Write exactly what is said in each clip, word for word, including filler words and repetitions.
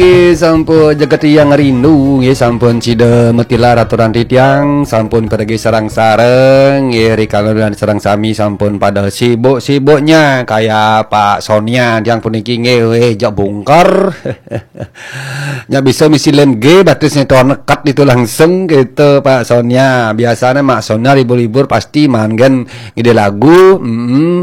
Nggih, sampun jagat tiang rindu, nggih, sampun sida matilar aturan titiang, sampun pergi sareng-sareng, nggih, rikala dan sareng sami sampun pada sibuk-sibuknya, kaya Pak Sonia tiang puniki, nggih, weh, jak bungker. Nya bisa misi lem G, batis nyetor nekat itu langsung gitu, Pak Sonia. Biasanya Mak Sonia libur-libur pasti manggen ngide lagu, mm.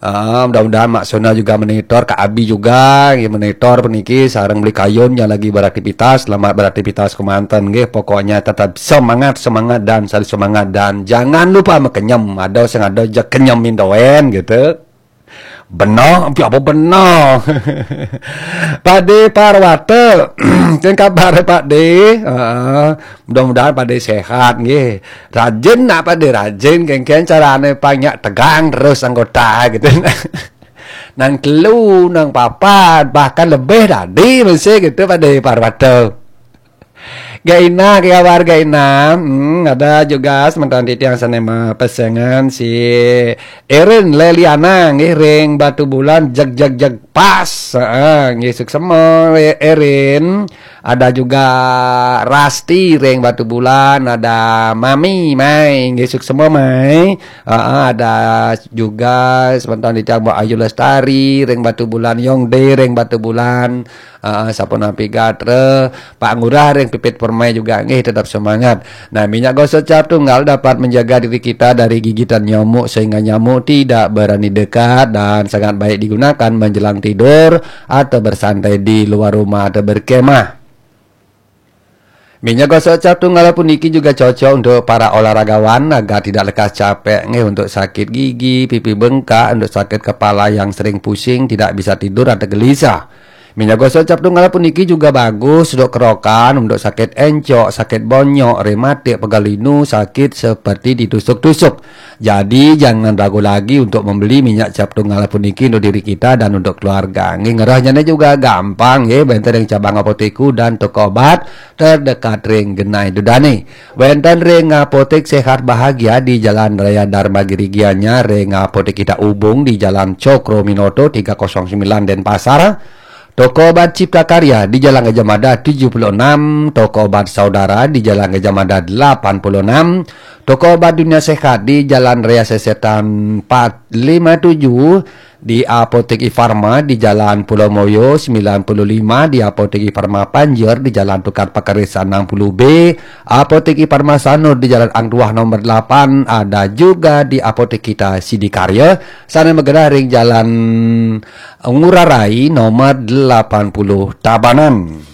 Ah, mudah-mudahan Mak Sona juga monitor, Kak Abi juga, nggih, monitor puniki sareng Beli Kayun yang lagi beraktivitas, selamat beraktivitas kemanten, nggih. Pokoknya tetap semangat, semangat dan selalu semangat dan jangan lupa makenyem. Ada sing ada aja kenyemin doen gitu. Benar, tapi apa benar? Pade Parwata, kan kabar Pade? Heeh. Mudah-mudahan Pade sehat nggih. Rajin nak Pade, rajin, kengken carane banyak tegang terus anggota gitu. Nang telu, nang papat, bahkan lebih tadi masih gitu Pade Parwata. Gaina, ke kabar Gaina? Hmm, ada juga sementara titiang sanema pesengan si Erin Leliana nggih ring Batu Bulan, jeg jeg jeg pas. Heeh, nggih, suksema, Erin. Ada juga Rasti ring Batu Bulan, ada Mami Mai, nggih, suksema Mai. Heeh, ada juga sementara titiang Mbok Ayu Lestari ring Batu Bulan, Yong De ring Batu Bulan. Heeh, sapunapi gatra, Pak Ngurah ring Pipit Permai juga nggih tetap semangat. Nah, minyak gosok cap tunggal dapat menjaga diri kita dari gigitan nyamuk sehingga nyamuk tidak berani dekat dan sangat baik digunakan menjelang tidur atau bersantai di luar rumah atau berkemah. Minyak gosok cap tunggal puniki juga cocok untuk para olahragawan agar tidak lekas capek nggih, untuk sakit gigi, pipi bengkak, untuk sakit kepala yang sering pusing, tidak bisa tidur atau gelisah. Minyak gosok cap tunggal puniki juga bagus untuk kerokan, untuk sakit encok, sakit bonyok, rematik, pegal linu, sakit seperti ditusuk-tusuk. Jadi jangan ragu lagi untuk membeli minyak cap tunggal puniki untuk diri kita dan untuk keluarga. Nggih, ngerahnya juga gampang nggih, benten ring cabang apotek dan toko obat terdekat ring genah ida dane. Wenten ring Apotek Sehat Bahagia di Jalan Raya Dharma Giri Gianyar, ring Apotek Kita Ubung di Jalan Cokro Minoto tiga kosong sembilan Denpasar. Toko obat Cipta Karya di Jalan Gajah Mada tujuh puluh enam, toko obat Saudara di Jalan Gajah Mada delapan puluh enam, toko obat Dunia Sehat di Jalan Raya Sesetan empat lima tujuh, di Apotek Ifarma di Jalan Pulau Moyo sembilan puluh lima, di Apotek Ifarma Panjer di Jalan Tukad Pakarisan enam puluh B, Apotek Ifarma Sanur di Jalan Ang Tuah nomor delapan, ada juga di Apotek Kita Sidikarya, sana magenah ring Jalan Ngurah Rai nomor delapan puluh Tabanan.